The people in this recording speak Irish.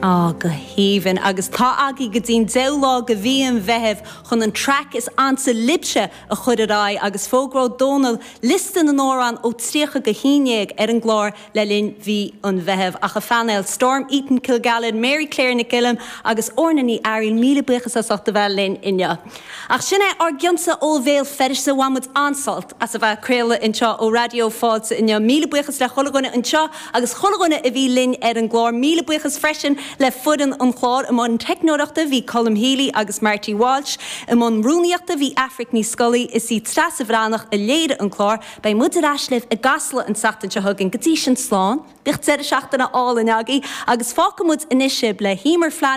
Á, go haoibhinn. Agus tá agaibh go dtí'n deichiú lá de mhí an Mheithimh chun an traic is ansa libhse a chur ar aghaidh agus fógróidh Dónal liosta na n-amhrán ó 30 go 11 ar an gclár le linn mhí an Mheithimh. Ach a phainéal, Storm Eaton Kilgallen, Mary Claire Nic Uilliam agus Orna Ní Fhearghail, míle buíochas as ucht a bheith linn inniu. Ach sin é ár gcionsa ó Bhéal Feirste. Bhain muid an-sult as a bheith ag craoladh anseo ó Raidió Fáilte inniu. Míle buíochas le chuile dhuine anseo agus chuile dhuine a bhí linn ar an gclár. Míle buíochas freisin le foireann an chláir. I mbun teicneoireachta bhí Colm Healy agus Marty Walsh. I mbun rúnaíochta bhí Aifric Ní Scolaí. Is í Treasa Bhreathnach a léirigh an clár. Beidh muid ar ais libh i gCasla an tseachtain seo chugainn. Go dtí sin, slán. Bíodh deireadh seachtaine álainn agaibh agus fágfaidh muid anois sibh le hEmer Flanagan.